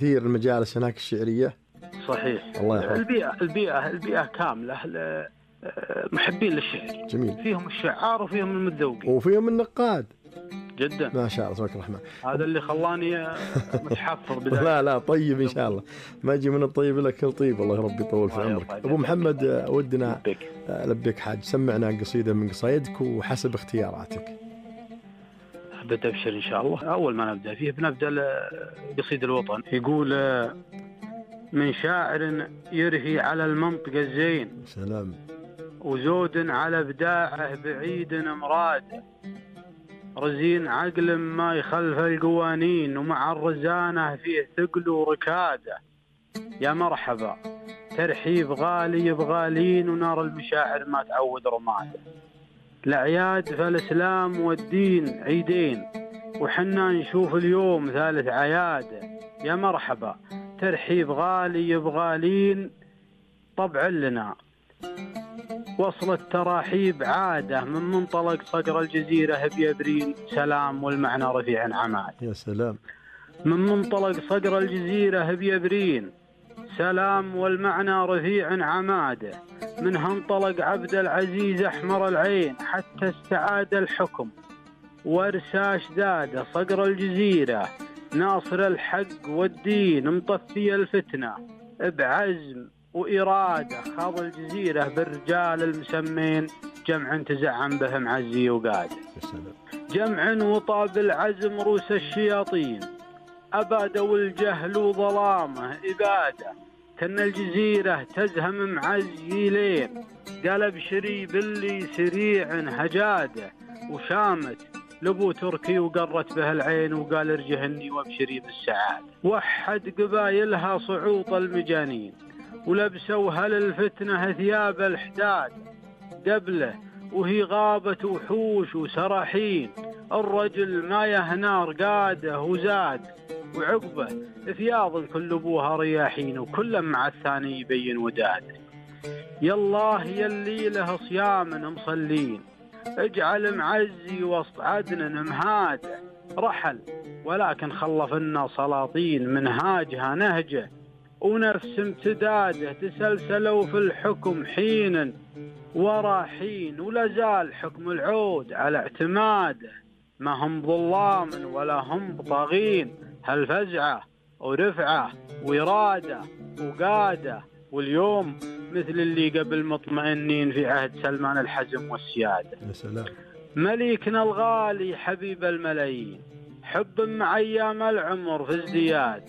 كثير المجالس هناك الشعرية. صحيح. الله يحفظك. البيئة كاملة محبين للشعر. جميل. فيهم الشعار وفيهم المتذوقين وفيهم النقاد. جدا ما شاء الله تبارك الرحمن. هذا اللي خلاني متحفظ لا طيب إن شاء الله ما أجي من الطيب إلا كل طيب. الله ربي يطول في عمرك. أبو محمد ودنا لبيك حاج سمعنا قصيدة من قصايدك وحسب اختياراتك. بدأ أبشر إن شاء الله. أول ما نبدأ فيه بنبدأ قصيد الوطن. يقول من شاعر يرهي على المنطق الزين سلام وزود على بداعه بعيد مراد رزين عقل ما يخلف القوانين ومع الرزانة فيه ثقل وركادة. يا مرحبا ترحيب غالي بغالين ونار المشاعر ما تعود رماده. الأعياد فالإسلام والدين عيدين وحنا نشوف اليوم ثالث عياده. يا مرحبا ترحيب غالي بغالين طبع لنا وصل التراحيب عادة من منطلق صقر الجزيرة بيبرين سلام والمعنى رفيع عماد. يا سلام. من منطلق صقر الجزيرة بيبرين سلام والمعنى رفيع عماده. منها انطلق عبد العزيز أحمر العين حتى استعاد الحكم وارساش داده صقر الجزيرة ناصر الحق والدين مطفي الفتنة بعزم وإرادة. خاض الجزيرة بالرجال المسمين جمع تزعم بهم عزي وقاده. جمع وطاب العزم روس الشياطين أبادوا الجهل وظلامه إبادة. كان الجزيرة تزهم معزيلين قال بشري باللي سريع هجاده وشامت لبو تركي وقرت به العين وقال ارجهني وابشري بالسعادة. وحد قبايلها صعوط المجانين ولبسوا هل الفتنة ثياب الحداد قبله وهي غابة وحوش وسراحين. الرجل ما يهنا رقاده وزاد وعقبه ثياض كل ابوها رياحين وكل مع الثاني يبين وداده. يالله يلي له صيام مصلين اجعل معزي وسط عدن مهاده. رحل ولكن خلف لنا سلاطين منهاجها نهجه ونفس امتداده تسلسلوا في الحكم حين ورا حين ولا زال حكم العود على اعتماده. ما هم ظلام ولا هم طاغين هل فزعه ورفعه وإرادة وقادة. واليوم مثل اللي قبل مطمئنين في عهد سلمان الحزم والسيادة. يا سلام. مليكنا الغالي حبيب الملايين حب مع أيام العمر في ازدياد.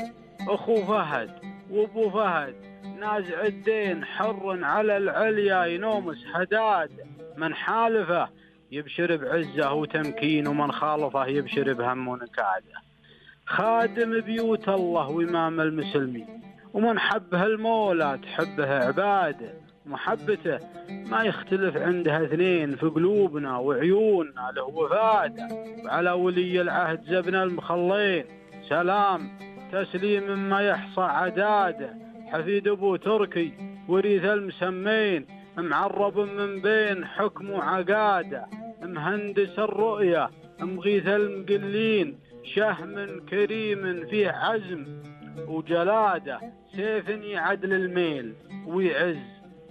أخو فهد وابو فهد نازع الدين حر على العليا ينومس هداد. من حالفه يبشر بعزه وتمكين ومن خالفه يبشر بهم ونكاده. خادم بيوت الله وإمام المسلمين ومن حبه المولى تحبه عباده. محبته ما يختلف عندها اثنين في قلوبنا وعيوننا له وفاده. وعلى ولي العهد زبنا المخلين سلام تسليم ما يحصى عداده. حفيد ابو تركي وريث المسمين معرب من بين حكم وعقاده. مهندس الرؤية مغيث المقلين شهم كريم فيه عزم وجلاده. سيف يعدل الميل ويعز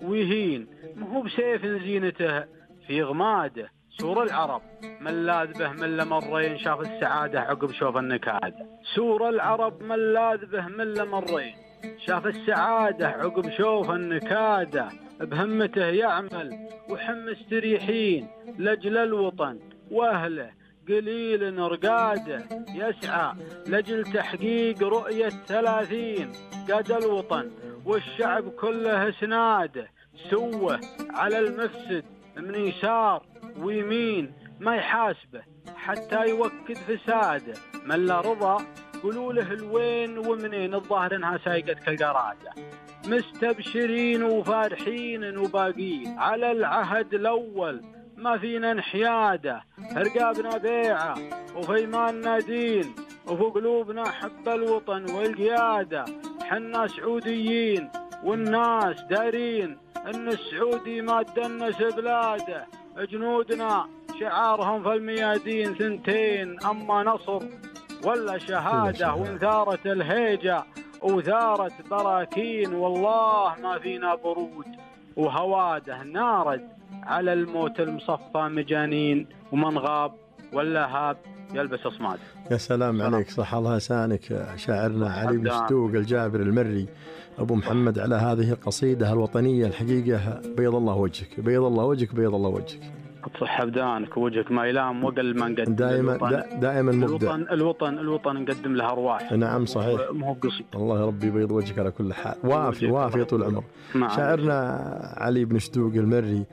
ويهين مهو بسيف زينته في غماده. سور العرب من لاذ به من لمرين شاف السعادة عقب شوف النكادة. سور العرب من لاذ به من لمرين شاف السعادة عقب شوف النكادة. بهمته يعمل وحم مستريحين لجل الوطن واهله قليل رقاده. يسعى لجل تحقيق رؤية 30 قاد الوطن والشعب كله سناده. سوه على المفسد من يسار ويمين ما يحاسبه حتى يوكد فساده. من لا رضا قولوا له الوين ومنين الظاهر انها سايقت كالقرادة. مستبشرين وفارحين وباقين على العهد الأول ما فينا انحياده. رقابنا بيعة وفي ايماننا دين وفي قلوبنا حب الوطن والقيادة. حنا سعوديين والناس دارين ان السعودي ما تدنس بلاده. جنودنا شعارهم في الميادين ثنتين اما نصر ولا شهادة. وانثارت الهيجة وثارت براكين والله ما فينا برود، وهواده نارد على الموت المصفى مجانين، ومن غاب ولا هاب يلبس أصماد. يا سلام عليك، صح الله لسانك شاعرنا علي بن شدوق الجابر المري أبو محمد على هذه القصيدة الوطنية. الحقيقة بيض الله وجهك، بيض الله وجهك، بيض الله وجهك. تصح بدانك ووجهك ما يلام وقل ما نقدم. دائما مبدع. الوطن نقدم له أرواح. نعم صحيح. مو قصيد. الله ربي يبيض وجهك على كل حال. وافي طول العمر. شاعرنا علي بن شدوق المري،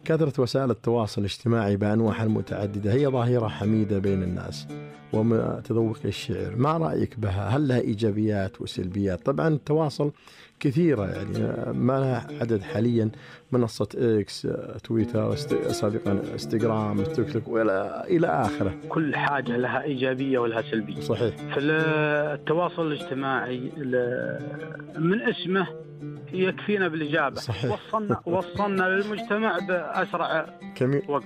كثرة وسائل التواصل الاجتماعي بأنواعها المتعددة هي ظاهرة حميدة بين الناس وتذوق الشعر، ما رأيك بها؟ هل لها إيجابيات وسلبيات؟ طبعا التواصل كثيرة، يعني ما لها عدد حاليا، منصة إكس، تويتر، سابقا انستغرام، تيك توك إلى آخره. كل حاجة لها إيجابية ولها سلبية. صحيح. في التواصل الاجتماعي من اسمه يكفينا بالإجابة. صحيح. وصلنا للمجتمع بأسرع وقت.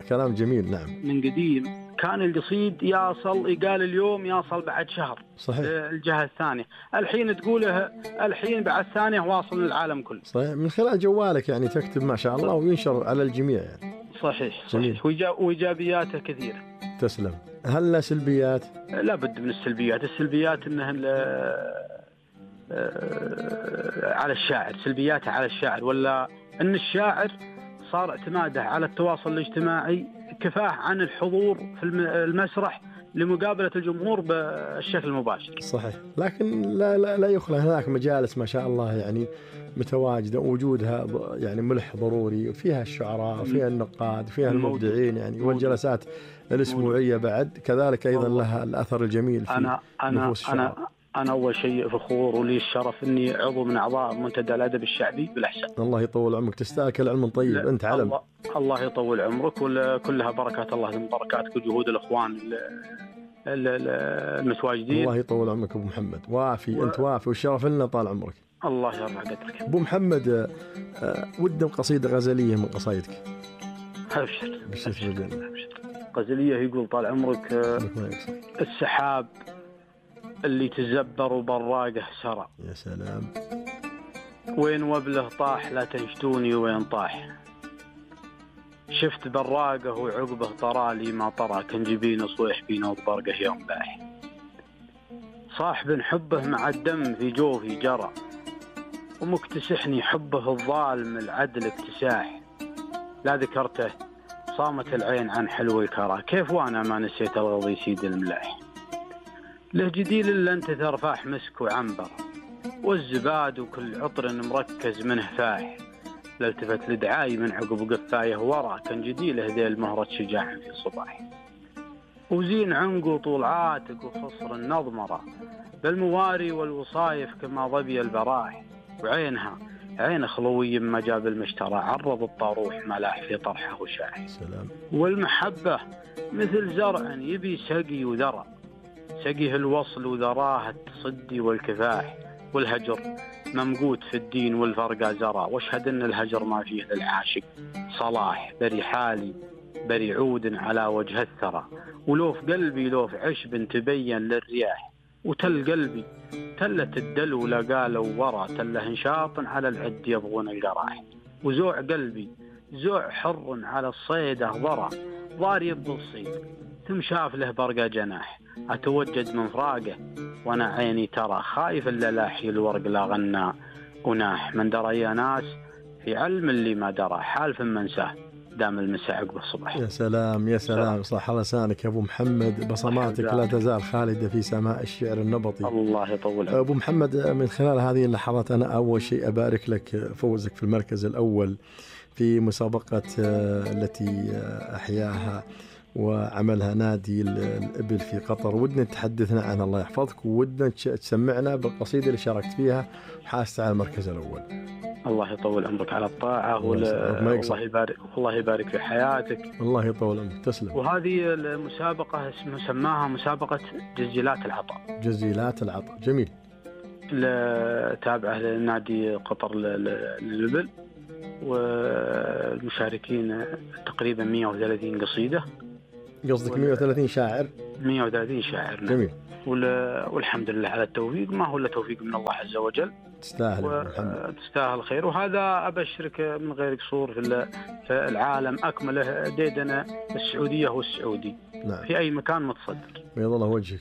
كلام جميل. نعم. من قديم كان القصيد يقال اليوم يصل بعد شهر. صحيح. الجهة الثانية، الحين تقوله الحين بعد ثانية واصل للعالم كله. صحيح، من خلال جوالك يعني تكتب ما شاء الله وينشر على الجميع يعني. صحيح. وإيجابياته كثيرة. تسلم. هل له سلبيات؟ لا بد من السلبيات. إنه على الشاعر، سلبياته على الشاعر، ولا أن الشاعر صار اعتماده على التواصل الاجتماعي كفاه عن الحضور في المسرح لمقابلة الجمهور بالشكل المباشر. صحيح، لكن لا يخلى هناك مجالس ما شاء الله يعني متواجدة، وجودها يعني ملح ضروري، وفيها الشعراء، فيها النقاد، فيها المبدعين يعني، والجلسات الأسبوعية بعد كذلك أيضا لها الأثر الجميل في نفوس الشعراء. أنا أول شيء فخور ولي الشرف إني عضو من أعضاء منتدى الأدب الشعبي بالأحساء. الله يطول عمرك، تستاهل كل علم طيب. أنت علم. الله يطول عمرك، وكلها بركات الله من بركاتك وجهود الإخوان المتواجدين. الله يطول عمرك أبو محمد، وافي أنت وافي، والشرف لنا طال عمرك. الله يرفع قدرك. أبو محمد، ودنا قصيدة غزلية من قصايدك. أبشر. أبشر. غزلية يقول طال عمرك: السحاب اللي تزبر وبراقه سرى. يا سلام. وين وبله طاح لا تنشدوني وين طاح. شفت براقه وعقبه طرالي ما طرى، كان جبين صويح بينا وبرقه يوم باح. صاحب حبه مع الدم في جوفي جرى، ومكتسحني حبه الظالم العدل اكتساح. لا ذكرته صامت العين عن حلو الكرى، كيف وانا ما نسيت الغضي سيد الملاح. له جديل إلا أنت ثرفاح مسك وعنبر، والزباد وكل عطر مركز منه فاح. لالتفت لدعاي من عقب قفايه ورا، كان جديله ذيل مهرة شجاع في صباح. وزين عنقه طول عاتق وخصر النضمرة، بالمواري والوصايف كما ظبي البراح. وعينها عين خلوي ما جاب المشترى، عرض الطاروح ملاح في طرحه وشاح. سلام. والمحبة مثل زرع يبي سقي وذرى، سقيه الوصل وذراه التصدي والكفاح. والهجر ممقوت في الدين والفرقة زرى، واشهد ان الهجر ما فيه للعاشق صلاح. بري حالي بري عود على وجه الثرى، ولو في قلبي لو في عشب تبين للرياح. وتل قلبي تلة الدلو لقالوا ورا، تله انشاط على العد يبغون القراح. وزوع قلبي زوع حر على الصيدة ضرى، ضاري بالصيد ثم شاف له برقى جناح. أتوجد من فراقه وأنا عيني ترى، خايف إلا لاحي الورق لا غنى وناح. من درى يا ناس في علم اللي ما درى، حالف منساه دام المساء عقب الصبح. يا سلام يا سلام، صح لسانك يا أبو محمد، بصماتك لا تزال خالدة في سماء الشعر النبطي. الله يطول. أبو محمد، من خلال هذه اللحظات أنا أول شيء أبارك لك فوزك في المركز الأول في مسابقة التي أحياها وعملها نادي الإبل في قطر. ودنا تحدثنا عنها الله يحفظك، وودنا تسمعنا بالقصيدة اللي شاركت فيها وحاست على المركز الأول. الله يطول عمرك على الطاعة، والله يبارك في حياتك. الله يطول عمرك، تسلم. وهذه المسابقة سماها مسابقة جزيلات العطاء. جزيلات العطاء، جميل. تابعة لنادي قطر للإبل، والمشاركين تقريبا 130 قصيدة. قصدك 130 شاعر؟ 130 شاعر. جميل. والحمد لله على التوفيق، ما هو إلا توفيق من الله عز وجل. تستاهل خير. وهذا أبشرك من غير قصور في العالم أكمله ديدنا السعودية والسعودي. نعم. في أي مكان متصدر. بيض الله وجهك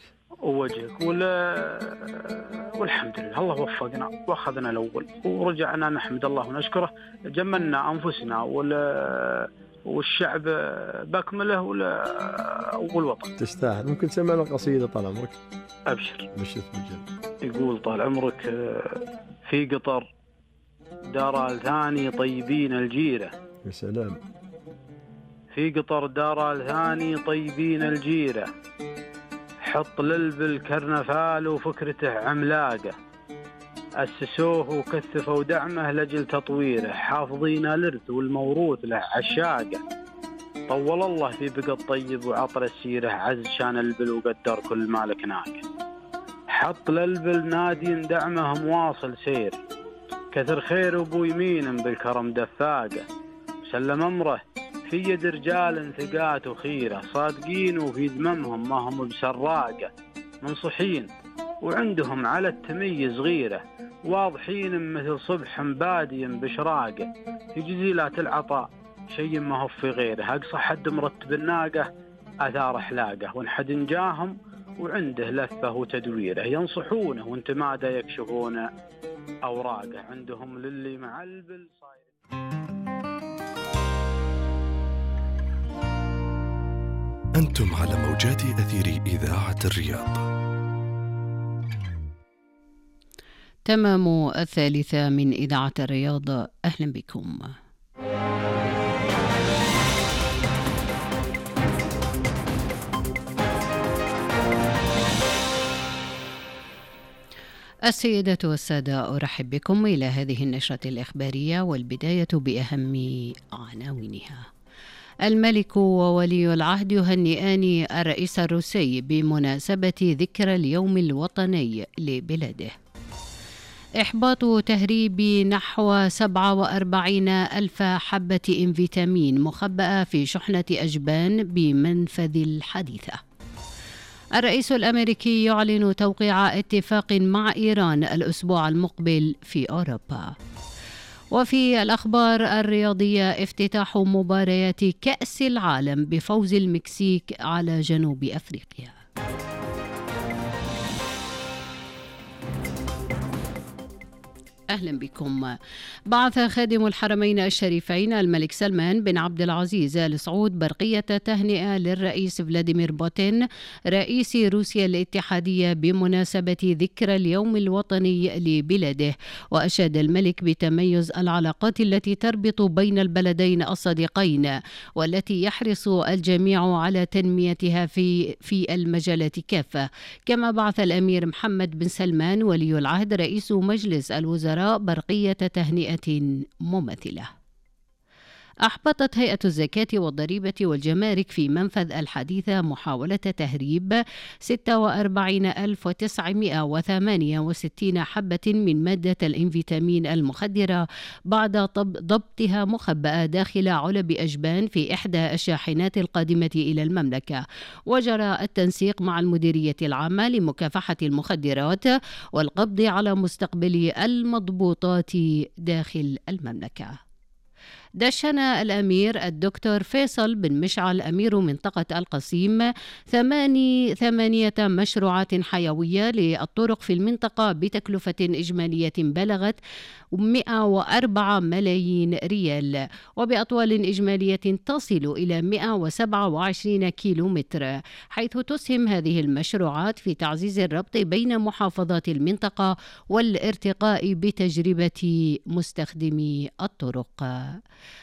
والحمد لله الله وفقنا وأخذنا الأول ورجعنا نحمد الله ونشكره. جملنا أنفسنا والشعب بأكمله والوطن. تستاهل. ممكن تسمعنا قصيدة طال عمرك؟ أبشر. بشرت بالجنة. يقول طال عمرك: في قطر دار الثاني طيبين الجيرة. يا سلام. في قطر دار الثاني طيبين الجيرة، حط للبالكرنفال وفكرته عملاقة، أسسوه وكثفوا دعمه لجل تطويره، حافظين الإرث والموروث له عشاقة، طول الله في بقى الطيب وعطر السيرة، عز شان البل وقدر كل مالك ناقة، حط للبل نادي دعمه مواصل سير، كثر خير أبو يمين بالكرم دفاقة، سلم أمره في يد رجال ثقات وخيرة، صادقين وفي ذممهم ما هم بسراقة، منصحين وعندهم على التميز غيرة، واضحين مثل صبح بادي بشراقة، في جزيلات العطاء شيء ما هو في غيره، أقصى حد مرتب الناقة أثار حلاقة، وانحد نجاهم وعنده لفة وتدويره، ينصحونه وانت ماذا يكشفون أوراقه، عندهم للي مع البل صاير. أنتم على موجات أثير إذاعة الرياض. تمام 1:03 من إذاعة الرياض. أهلا بكم. السيدات والسادة، أرحب بكم إلى هذه النشرة الإخبارية، والبداية بأهم عناوينها. الملك وولي العهد يهنئان الرئيس الروسي بمناسبة ذكرى اليوم الوطني لبلاده. إحباط تهريب نحو 47,000 حبة فيتامين مخبأة في شحنة أجبان بمنفذ الحديثة. الرئيس الأمريكي يعلن توقيع اتفاق مع إيران الأسبوع المقبل في أوروبا. وفي الأخبار الرياضية، افتتاح مباريات كأس العالم بفوز المكسيك على جنوب أفريقيا. أهلا بكم. بعث خادم الحرمين الشريفين الملك سلمان بن عبد العزيز آل سعود برقية تهنئة للرئيس فلاديمير بوتين رئيس روسيا الاتحادية بمناسبة ذكرى اليوم الوطني لبلاده، وأشاد الملك بتميز العلاقات التي تربط بين البلدين الصديقين، والتي يحرص الجميع على تنميتها في المجالات كافة. كما بعث الأمير محمد بن سلمان ولي العهد رئيس مجلس الوزراء برقية تهنئة مماثلة. أحبطت هيئة الزكاة والضريبة والجمارك في منفذ الحديثة محاولة تهريب 46,968 حبة من مادة الإنفيتامين المخدرة بعد ضبطها مخبأة داخل علب أجبان في إحدى الشاحنات القادمة إلى المملكة. وجرى التنسيق مع المديرية العامة لمكافحة المخدرات والقبض على مستقبلي المضبوطات داخل المملكة. دشن الأمير الدكتور فيصل بن مشعل أمير منطقة القصيم 8 مشروعات حيوية للطرق في المنطقة بتكلفة إجمالية بلغت 104 ملايين ريال، وبأطوال إجمالية تصل إلى 127 كيلومتر، حيث تسهم هذه المشروعات في تعزيز الربط بين محافظات المنطقة والارتقاء بتجربة مستخدمي الطرق.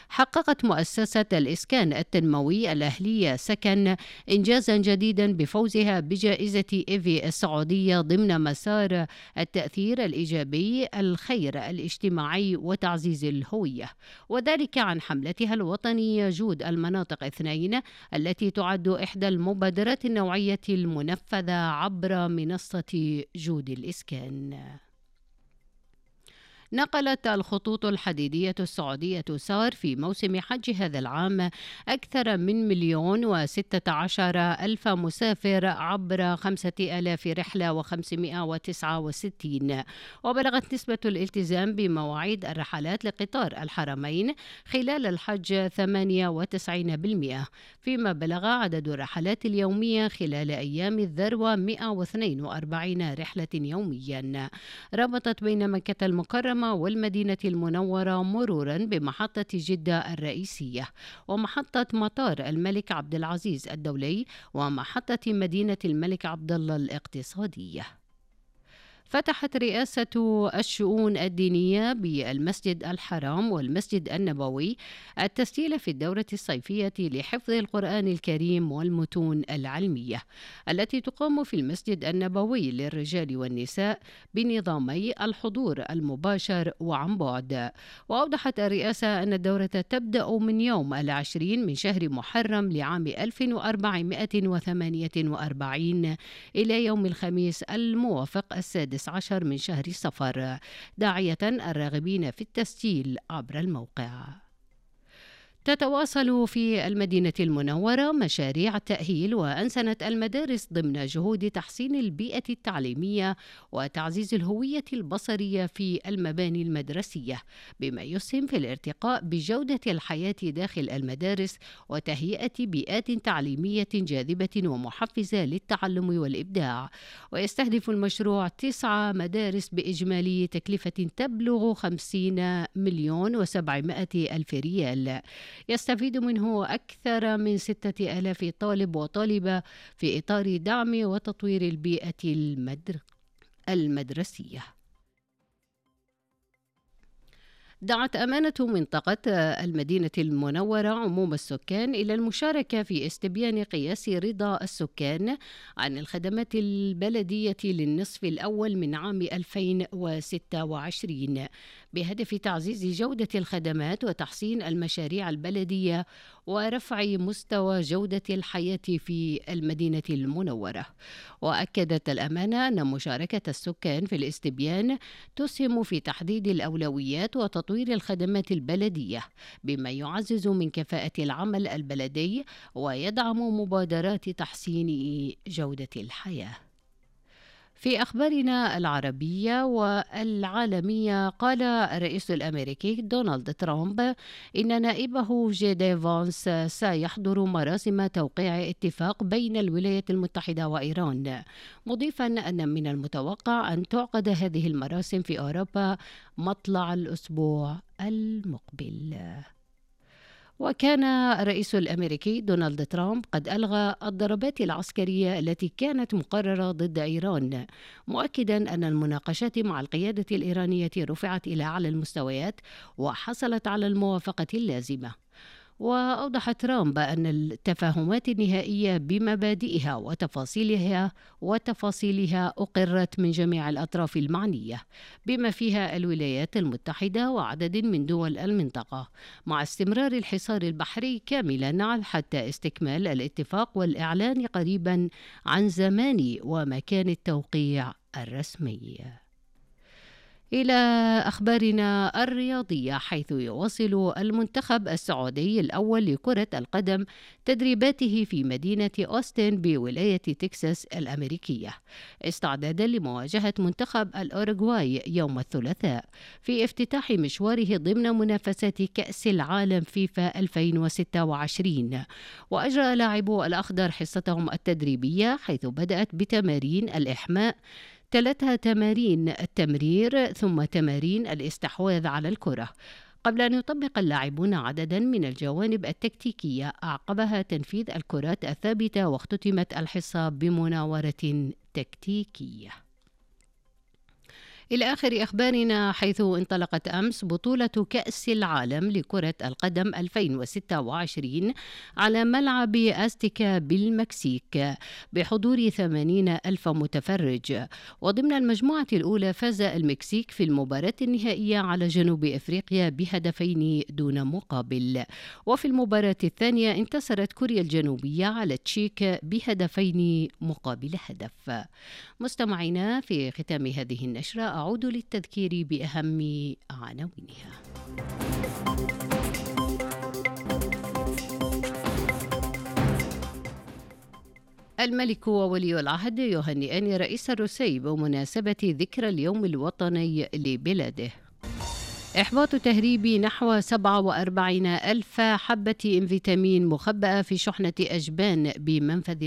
حققت مؤسسة الإسكان التنموي الأهلية سكن إنجازا جديدا بفوزها بجائزة إيفي السعودية ضمن مسار التأثير الإيجابي، الخير الاجتماعي وتعزيز الهوية، وذلك عن حملتها الوطنية جود المناطق 2 التي تعد إحدى المبادرات النوعية المنفذة عبر منصة جود الإسكان. نقلت الخطوط الحديدية السعودية سار في موسم حج هذا العام أكثر من 1,016,000 مسافر عبر 5,000 رحلة و569، وبلغت نسبة الالتزام بمواعيد الرحلات لقطار الحرمين خلال الحج 98%، فيما بلغ عدد الرحلات اليومية خلال أيام الذروة 142 رحلة يوميا، ربطت بين مكة المكرمة والمدينة المنورة مرورا بمحطة جدة الرئيسية ومحطة مطار الملك عبد العزيز الدولي ومحطة مدينة الملك عبد الله الاقتصادية. فتحت رئاسة الشؤون الدينية بالمسجد الحرام والمسجد النبوي التسجيل في الدورة الصيفية لحفظ القرآن الكريم والمتون العلمية التي تقام في المسجد النبوي للرجال والنساء بنظامي الحضور المباشر وعن بعد. وأوضحت الرئاسة أن الدورة تبدأ من يوم 20 من شهر محرم لعام 1448 إلى يوم الخميس الموافق 16 من شهر صفر، داعية الراغبين في التسجيل عبر الموقع. تتواصل في المدينة المنورة مشاريع تأهيل وأنسنة المدارس ضمن جهود تحسين البيئة التعليمية وتعزيز الهوية البصرية في المباني المدرسية، بما يسهم في الارتقاء بجودة الحياة داخل المدارس وتهيئة بيئات تعليمية جاذبة ومحفزة للتعلم والإبداع. ويستهدف المشروع 9 مدارس بإجمالي تكلفة تبلغ 50,700,000 ريال، يستفيد منه أكثر من 6,000 طالب وطالبة في إطار دعم وتطوير البيئة المدرسية. دعت أمانة منطقة المدينة المنورة عموم السكان إلى المشاركة في استبيان قياس رضا السكان عن الخدمات البلدية للنصف الأول من عام 2026 بهدف تعزيز جودة الخدمات وتحسين المشاريع البلدية ورفع مستوى جودة الحياة في المدينة المنورة. وأكدت الأمانة أن مشاركة السكان في الاستبيان تسهم في تحديد الأولويات وتطوير الخدمات البلدية، بما يعزز من كفاءة العمل البلدي ويدعم مبادرات تحسين جودة الحياة. في أخبارنا العربية والعالمية، قال الرئيس الأمريكي دونالد ترامب إن نائبه جي دي فانس سيحضر مراسم توقيع اتفاق بين الولايات المتحدة وإيران، مضيفا أن من المتوقع أن تعقد هذه المراسم في أوروبا مطلع الأسبوع المقبل. وكان الرئيس الأمريكي دونالد ترامب قد ألغى الضربات العسكرية التي كانت مقررة ضد إيران، مؤكدا أن المناقشات مع القيادة الإيرانية رفعت إلى أعلى المستويات وحصلت على الموافقة اللازمة. وأوضح ترامب أن التفاهمات النهائية بمبادئها وتفاصيلها أقرت من جميع الأطراف المعنية بما فيها الولايات المتحدة وعدد من دول المنطقة، مع استمرار الحصار البحري كاملا حتى استكمال الاتفاق والإعلان قريبا عن زمان ومكان التوقيع الرسمي. إلى أخبارنا الرياضية، حيث يواصل المنتخب السعودي الأول لكرة القدم تدريباته في مدينة أوستن بولاية تكساس الأمريكية استعدادا لمواجهة منتخب الأوروغواي يوم الثلاثاء في افتتاح مشواره ضمن منافسات كأس العالم فيفا 2026. وأجرى لاعبو الأخضر حصتهم التدريبية، حيث بدأت بتمارين الإحماء، 3 تمارين التمرير، ثم تمارين الاستحواذ على الكرة، قبل أن يطبق اللاعبون عددا من الجوانب التكتيكية أعقبها تنفيذ الكرات الثابتة، واختتمت الحصة بمناورة تكتيكية. إلى آخر أخبارنا، حيث انطلقت أمس بطولة كأس العالم لكرة القدم 2026 على ملعب أستيكا بالمكسيك بحضور 80,000 متفرج. وضمن المجموعة الأولى فاز المكسيك في المباراة النهائية على جنوب أفريقيا ب2 دون مقابل. وفي المباراة الثانية انتصرت كوريا الجنوبية على تشيك ب2 مقابل هدف. مستمعينا، في ختام هذه النشرة وأعود للتذكير بأهم عناوينها. الملك وولي العهد يهنئان الرئيس الروسي بمناسبة ذكرى اليوم الوطني لبلاده. إحباط تهريب نحو 47,000 حبة فيتامين مخبأة في شحنة أجبان بمنفذ